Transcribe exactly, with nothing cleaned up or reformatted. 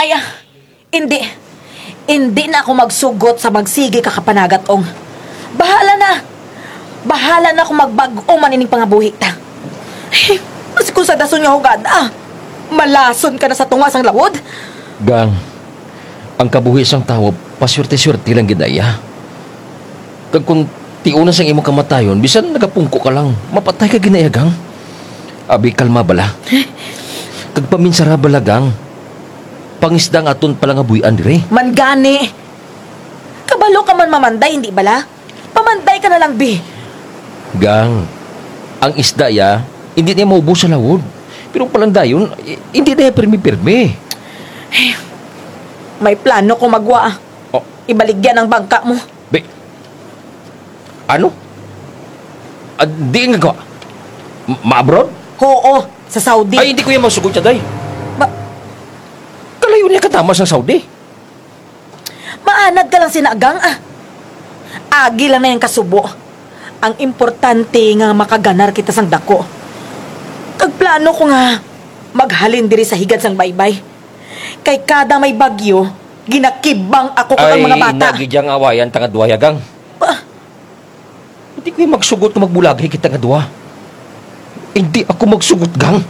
Ay, ah, hindi. Hindi na ako magsugot sa magsigi ka kapanagat, Ong. Bahala na. Bahala na kung magbag-o man ining pangabuhi ta. Ay, mas kung sa dason nga hugad, ah. Malason ka na sa tunga sang lawod. Gang, ang kabuhi sang tawo, paswerte-swerte lang gid na iya. Kag kung tiuna sang imong kamatayon, bisan nagapungko ka lang, mapatay ka gid na iya, Gang. Abi, kalma bala. Kag paminsara bala, Gang. Pangisda ang aton palangabuy-an diri. Man gani. Kabalo ka man mamanday, hindi bala? Pamanday ka na lang, bi. Gang, ang isda ya, hindi niya maubos sa lawod. Pero palandayon, i- hindi niya pirmi-pirmi. May plano ko magwa. Oh. Ibaligyan ang bangka mo. Be, ano? Ah, di nga ka. M- Ma-abroad? Oo, sa Saudi. Ay, hindi ko yan masugot siya, day. Ba- Kalayo niya katama sa Saudi. Maanad ka lang sina, Gang, ah. Agi lang na yung kasubo. Ang importante nga makaganar kita sang dako. Kag plano ko nga maghalin diri sa higad sang baybay. Kay kada may bagyo, ginakibang ako kag ang mga bata. Nagijang awayan tanga duwa, Gang. Ba- Hindi ko yung magsugot kung magbulagay kita nga duwa. Hindi ako magsugot, Gang.